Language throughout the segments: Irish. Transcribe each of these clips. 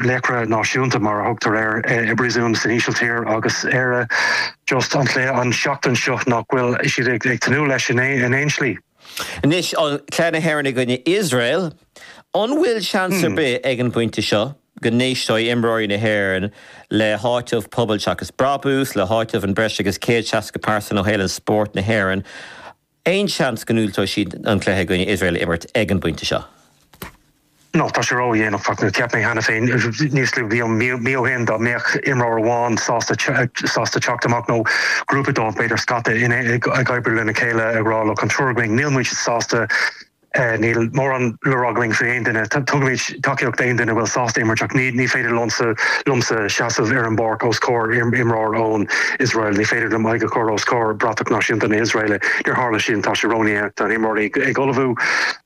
Laochra náisiúnta, mar a thugtar air, i bpríosún san Ísiltír agus Éire just an cluiche an seachtain seo nach bhfuil siad ag tnúth leis in aon slí. Anois, cluiche na hÉireann i gcoinne Iosrael, an bhfuil seans ar bith ag an bpointe seo go n-éisteoidh imreoirí na hÉireann le háiteamh Pobal Seachas Brabús, le háiteamh an breis agus 160 pearsan ó shaol an spóirt na hÉireann? Aon seans go ndiúltóidh siad an cluiche i gcoinne Iosrael a imirt ag an bpointe seo? No, tá sé ródhéanach. Cheap mé cheana féin níos luaithe, mí ó shin, dá mbeadh imreoir amháin sásta sásta teacht amach nó grúpa dóibh, b'fhéidir scata, ag oibriú lena chéile ag rá look, an triúr againn, níl muid sásta, níl mórán le rá againn faoi aon duine, tugaimid tacaíocht d'aon duine a bhfuil sásta imirt ach ní féidir liomsa liomsa seasamh ar an bpáirc os comhair imreoir ón Iosrael, ní féidir liom aghaidh a chur os comhair bratach náisiúnta na hIosraeile. Níor tharla sin, tá sé ródhéanach, tá na himreoirí ag ullmhú.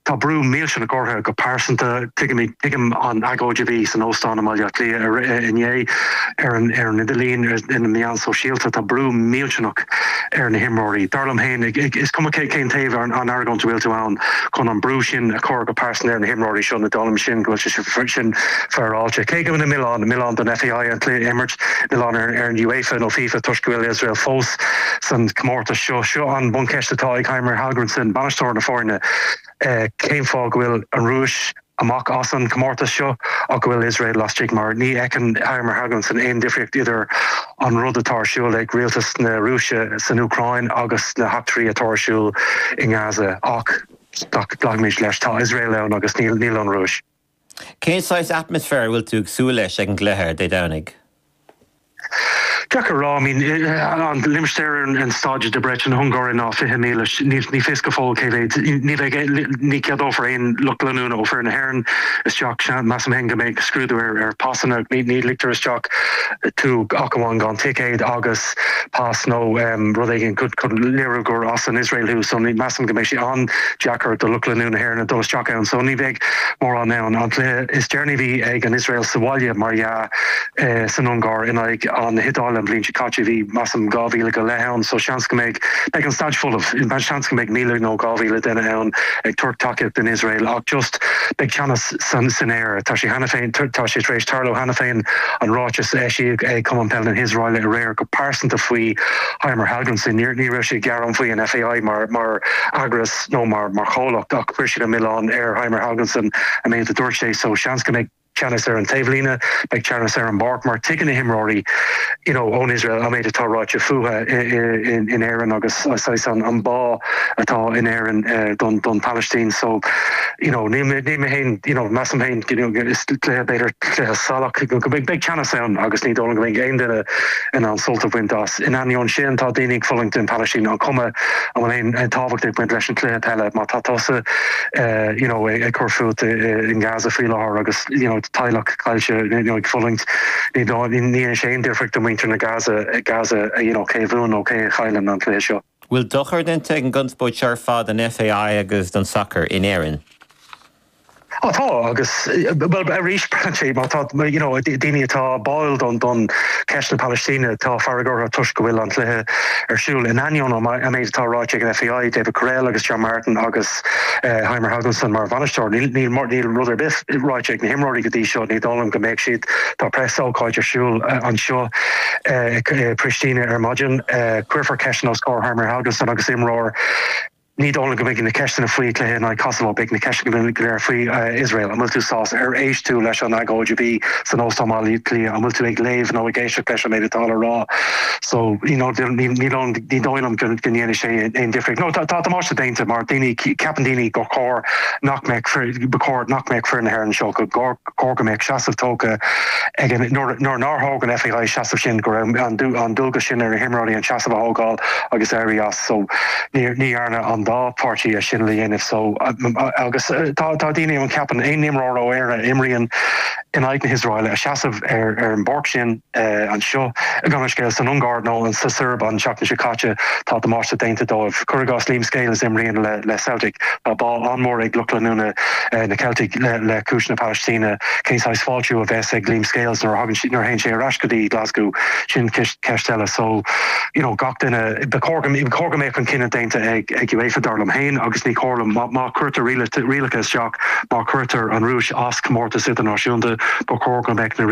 Tá brú millteanach orthu go pearsanta. Tuigim tuigim an agóid a bhí san óstán i mBaile Átha Cliath inné ar an ar an idirlíon, ar na meáin sóisialta. Tá brú millteanach ar na himreoirí. Dar liom féin, is cuma cén taobh an argóint a bhfuil tú ann, chun an brú sin a chur go pearsanta ar na himreoirí seo, ní dóigh liom sin go bhfuil sé sin féaráilte. Cé go bhfuil milleán, milleán don FAI an cluiche a imirt, milleán ar an UEFA nó FIFA toisc go bhfuil Iosrael fós san comórtas seo. Seo an buncheist atá ag Heimir Hallgrímsson, bainisteoir na foirne, cén fáth go bhfuil an Rúis amach as an comórtas seo ach go bhfuil Iosrael laistigh mar ní fheiceann Heimir Hallgrímsson aon difríocht idir an rud atá ar siúl ag rialtas na Rúise san Úcráin agus na heachtraí atá ar siúl i nGaza. Ach glacfaimid leis, tá Iosrael ann agus níl an Rúis. Cén saghas atmaisféir a bhfuil tú ag súil leis ag an gcluiche ar Dé Domhnaigh? Deacair a rá. I mean, an limistéar ar an staid Debrecen na hUngáire ná 20,000. Ní fios go fóill cé mhéad. Ní bheidh, ní ceadófar aon lucht leanúna ó foireann na hÉireann isteach. Measaim féin go mbeidh scrúdú ar pasanna. Ní ligtear isteach tú ach amháin gan ticéad agus pas nó rud éigin chun léiriú gur as an Iosrael thú. So measaim go mbeidh sé an-deacair do lucht leanúna na hÉireann dul isteach ann. So ní bheidh mórán ann. An cluiche is deireanaí a bhí ag an Iosrael sa bhaile, mar dhea, san Ungáir in aghaidh an na hIodáile an bhliain seo caite, bhí, measaim, 2,000 go leith ann. So seans go mbeidh, beidh an staid folamh. Seans go mbeidh 1,000 nó 2,000 duine ann ag tabhairt tacaíocht don Iosrael ach just beidh teannas san san aer. Tá sé cheana féin, tá sé tar éis tarlú cheana féin an ráiteas a eisíodh ag Cumann Peile na hIosraeile aréir go pearsanta faoi Heimir Hallgrímsson. Ní ní raibh sé ag gearán faoi an FAI mar mar eagras nó mar mar chomhlacht ach chuir siad an milleán ar Heimir Hallgrímsson an méid a dúirt sé so seans go mbeidh teannas ar an taobhlíne, beidh teannas ar an bpáirc mar tuigeann na himreoirí you know ón Iosrael an méid atá ráite fúthu in Éirinn agus saghas an bá atá in Éirinn don don Phalaistín so you know níl mé níl mé féin you know measaim féin you know is cluiche b'fhéidir cluiche salach go mbeidh beidh teannas ann agus ní dóigh liom go mbeidh aon duine in ann sult a bhaint as. In ainneoin sin tá daoine ag fulaingt don Phalaistín an cuma an bhfuil aon tábhacht ag baint leis an cluiche peile má tá tusa you know ag cur fút i nGaza faoi láthair agus you know teaghlach caillte you know ag fulaingt ní ní dhéanann sé aon difríocht do mhuintir na Gaza Gaza you know cé a bhuann nó cé a chailleann an cluiche seo. Bhfuil dochar déanta ag an gconspóid seo ar fad don FAI agus don sacar in Éirinn? Á tá, agus, bhuel, arís, braitheann sé, má tá, you know, daoine atá báúil don, don cheist na Palaistíne, tá fearg orthu toisc go bhfuil an cluiche ar siúl. In ainneoin an méid atá ráite ag an FAI, David Courell agus John Martin agus Heimir Hallgrímsson mar bhainisteoir, níl, níl, níl rud ar bith ráite ag na himreoirí go dtí seo, ní dóigh liom go mbeidh siad, tá preasócáid ar siúl anseo i Pristina ar maidin, cuirfear ceisteanna os comhair Heimir Hallgrímsson agus imreoir. Ní dóigh liom go mbeidh na ceisteanna faoi chluiche in aghaidh Kosovo, beidh na ceisteanna go léir faoi Iosrael. An bhfuil tú sásta? Ar éist tú leis an agóid a bhí san Óstán Bhaile Átha Cliath? An bhfuil tú ag léamh nó ag éisteacht leis an méid atá le rá? So, you know, ní ní dóigh liom go ndéanfaidh sé aon difríocht. No, tá damáiste déanta mar daoine, ceapann daoine gur chóir nach mbeadh, ba chóir nach mbeadh foireann na hÉireann anseo, go chóir go mbeadh seasamh tógtha ag an, nuair nár thóg an FAI seasamh sin, go raibh an dualgas sin ar na himreoirí an seasamh a thógáil agus éirí as. So ní dhearna an dá pháirtí é sin le dhéanamh. So agus tá daoine ann ceapann aon imreoir ó Éire a imríonn in aghaidh na hIosraeile a seasamh ar ar an bpáirc sin anseo, gabh mo leithscéal, san Ungáir nó sa tSeirbia an tseachtain seo caite, tá damáiste déanta dóibh. Cuir i gcás Liam Scales a imríonn le le Celtic. Tá bá an-mhór ag lucht leanúna na Ceiltigh le le cúis na Palaistíne. Cén saghas fáiltiú a bheas ag Liam Scales nuair a thagann nuair a théann sé ar ais go dtí Glasgow? Sin ceist eile. So, you know, gach duine, ba chóir go ba chóir go mbeadh an cinneadh déanta ag ag UEFA dar liom féin agus ní chóir liom má má chuirtear rialacha isteach, má chuirtear an Rúis as comórtas idirnáisiúnta. Ba chóir go mbeadh na.